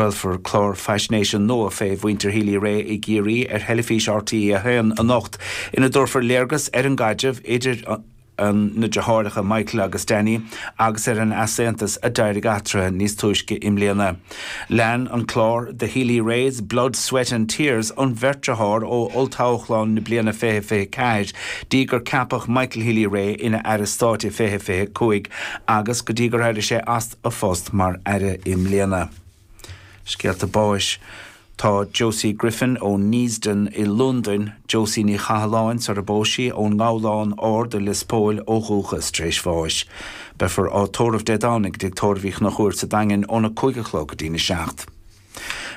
Craolfar clár faisnéise nua fé mhuintir Healy-Rae i gCiarraí ar theilifís RTÉ 1 anocht ina dtabharfar léargas ar an gcaidreamh idir na deartháireacha Michael agus Danny agus ar an easaontas a d'éirigh eatarthu níos túisce i mbliana. Lean an clár The Healy-Raes, Blood, Sweat and Tears an bheirt dearthár ó olltoghchán na bliana 2024 dtí gur ceapadh Michael Healy-Rae ina Aire Stáit i 2025 agus go dtí gur éirigh sé as a phost mar Aire i mbliana. Scéalta báis. Tá Josie Griffin ó Neasden i Londain, Josie Ní Chathalláin sar a bpós sí, ón nGabhlán Ard i Lios Póil ó dhúchas, tar éis bháis. Beifear á tórramh Dé Domhnaigh i dTigh Tórraimh Uí Chonchúir sa Daingean óna 5 a chlog go dtína 7.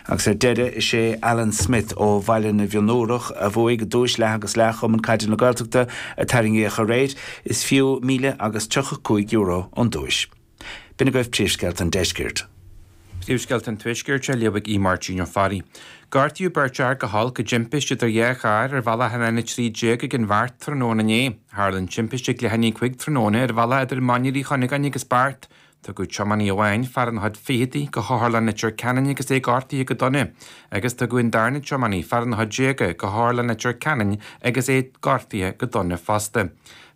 Agus ar deireadh, is é Alan Smith ó Bhaile na bhFionnúrach a bhuaigh duais leath agus leath Chumann Caide na Gaeltachta a tarraingíodh aréir. Is fiú míle agus €35 an duais. B'in agaibh príomhscéalta an deiscirt. Príomhscéalta an Tuaiscirt á léamh ag Aodh Máirtín Ó Fearraigh. Gortaíodh beirt fhear go holc i dtimpiste idir dhá charr ar bhealach an N13 ag an Bheart tráthnóna inné. Tharla an timpiste ag leath i ndiaidh 5 tráthnóna ar bhealach idir Mainír Uí Chuinneagáin agus Beart. Tugadh tiománaí amháin, fear ina chuid ficheadaí, go hOtharlann Leitir Ceanainn agus é gortaithe go dona, agus tugadh an darna tiománaí, fear ina chuid déaga, go hOtharlann Leitir Ceanainn agus é gortaithe go dona fosta.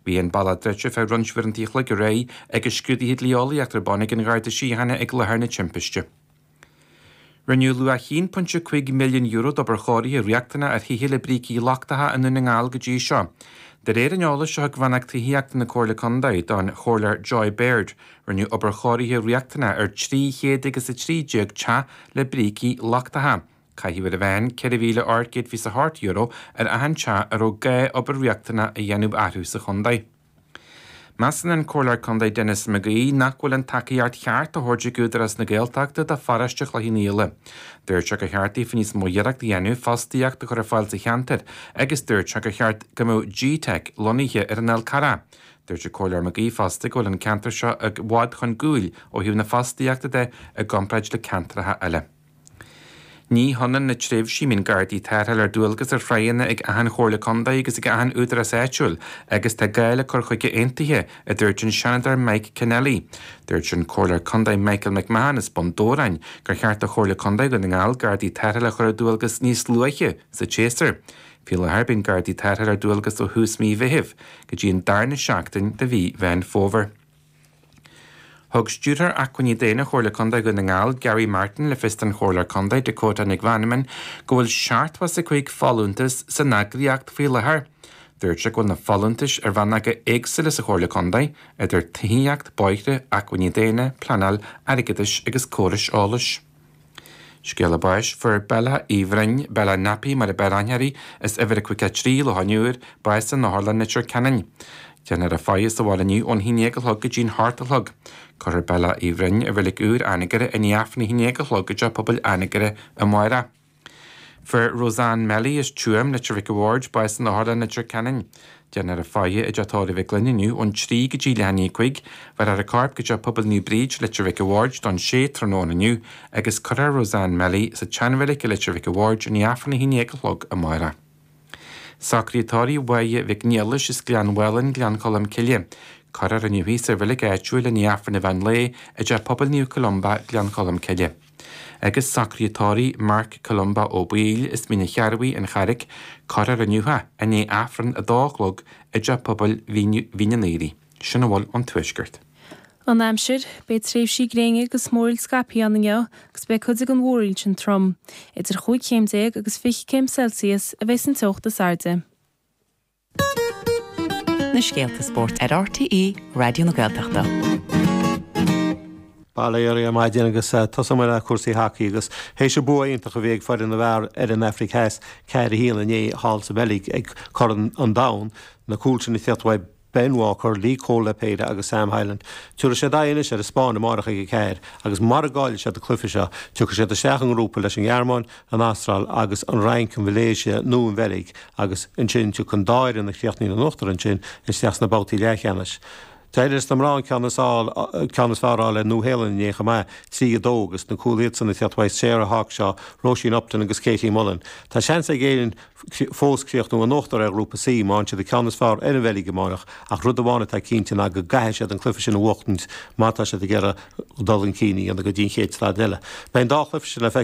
Bhí an bealach druidte feadh roinnt uaireanta an chloig aréir agus scrúduithe dlí-eolaíochta ar bun ag an Gharda Síochána ag láthair na timpiste. Rinneadh luach €1.5 milliún d'obair chóirithe riachtanach ar thithe le brící lochtacha i nDún na nGall go dtí seo. De réir an eolais a thug Rannóg Tithíochta na Comhairle Contae don Chomhairleoir Joy Baird, rinneadh obair chóirithe riachtanach ar 300 agus 13 teach le brící lochtacha. Caitheadh ar a mheán €4,828 ar achan teach a raibh gá obair riachtanach a dhéanamh orthu sa chontae. Measann an Comhairleoir Contae Denis McGee nach bhfuil an tacaíocht cheart á thabhairt ag Údarás na Gaeltachta do pharóiste Chloich Cheann Fhaola. Dúirt sé gur cheart daofa níos mó iarracht a dhéanamh fostaíocht a chur ar fáil sa cheantar agus dúirt sé gur cheart go mbeadh G-Teic lonnaithe ar an Fhál Carrach. Dúirt an Comhairleoir McGee fosta go bhfuil an ceantar seo i bhfad chun gcúil ó thaobh na fostaíochta de i gcomparáid le ceantracha eile. Ní hionann na tréimhsí a mbíonn Gardaí tarrthála ar dualgas ar thráigheanna ag achan Chomhairle Contae agus ag achan Údarás Áitiúil agus tá gá le cur chuige aontaithe, a dúirt an Seanadóir Mike Kennelly. Dúirt an Comhairleoir Contae Michael McMahon as Bun Dobhráin gur cheart do Chomhairle Contae Dhún na nGall Gardaí tarrthála a chur ar dualgas níos luaithe sa tséasúr. Faoi láthair bíonn Gardaí tarrthála ar dualgas ó thús mí Mheithimh go dtí an darna seachtain de mhí Mheán Fómhair. Thug Stiúrthóir Acmhainní Daonna Chomhairle Contae Dhún na nGall, Gary Martin, le fios don Chomhairleoir Contae, Dakota Nic Mheanman, go bhfuil 75 folúntas san eagraíocht faoi láthair. Dúirt sé go bhfuil na folúntais ar rannóga éagsúla sa Chomhairle Contae, idir tithíocht, bóithre, acmhainní daonna, pleanáil, airgeadais agus córais eolais. Scéala báis, Fuair Bella Uí Bhroin, Bella Nappy mar a b'fhearr aithne uirthi, as uimhir a 53, Loch an Iúir, bás in Otharlann Leitir Ceanainn. Déanfar a faire sa bhaile inniu ón haon dhéag a chlog go dtí'n hocht a chlog. Cuirfear Bella Uí Bhroin i Reilig Úr Anagaire i ndiaidh Aifreann a haon dhéag a chlog i dTeach Pobail Anagaire amárach. Fuair Roseanne Melly as Tuaim, Leitir Mhic a' Bhaird, bás in Otharlann Leitir Ceanainn. Déanfar a faire i dTeach Tórraimh Mhic Gloinn inniu ón 3 go dtí leath i ndiaidh 5. Bhéarfar a corp go Teach Pobail Naomh Bríd, Leitir Mhic a' Bhaird don 6 tráthnóna inniu agus cuirfear Roseanne Melly sa tseanreilig i Leitir Mhic a' Bhaird i ndiaidh Aifreann 11 a chlog amárach. Socruithe tórraimh Mháire Mhic Niallais as Gleann Mhálainn, Gleann Cholm Cille. Cuirfear inniu í sa reilig áitiúil i ndiaidh Aifreann an mheán lae i dTeach Pobail Naomh Columba, Gleann Cholm Cille. Agus socruithe tórraimh Mark Columba Ó Baoill as Mín an Chearrbhaigh, An Charraic, cuirfear inniu é i ndiaidh Aifreann 2 a chlog i dTeach Pobail Mhín an Aoraigh. Sin a bhfuil ón Tuaisceart. An aimsir, Beidh tréimhsí gréine agus múraíl scaipthe ann inniu agus beidh cuid den mhúraíl sin trom. Idir chúig chéim déag agus 20 céim Celsius a bheidh an teocht is airde. Na scéalta spóirt ar RTÉ Raidió na Gaeltachta. Bail ó Dhia oraibh ar maidin agus tosóidh mé le cúrsaí hacaí agus théis an bua iontach a bhí ag foireann na bhfear ar an Afraic Theas 4-1 inné thall sa Bheilg ag Corn an Domhain, na cúil sin ag tíocht uaidh Ben Walker, Lee Cole le péire agus Sam Hyland. Tabharfaidh siad aghaidh anois ar an Spáinn amárach ag 4 agus mara gcaillfidh siad an cluiche seo, tiocfaidh siad isteach i ngrúpa leis an nGearmáin, an Astráil agus an Fhrainc, an Mhalaeisia nó an Bheilg agus ansin tiocfaidh an dá fhoireann a chríochnaíonn in uachtar ansin isteach sna babhtaí leathcheannais. D'éirigh leis na mná an ceann is ceann is fearr a fháil ar Nua-Shéalainn inné chomh maith, 3, 2, agus na cúil iadsan ag teacht uaidh Sarah Hawkshaw, Róisín Upton agus Katie Mullen. Tá seans ag Éirinn fós críochnú in uachtar ar Ghrúpa C má fhaigheann siad an ceann is fearr ar an Bheilg amárach ach rud amháin atá cinnte ná go gcaithfidh siad an cluiche sin a bhuachtaint má tá siad ag iarraidh dul chun cinn a dhéanamh go dtí an chéad staid eile. Beidh an dá chluiche sin le feiceáil.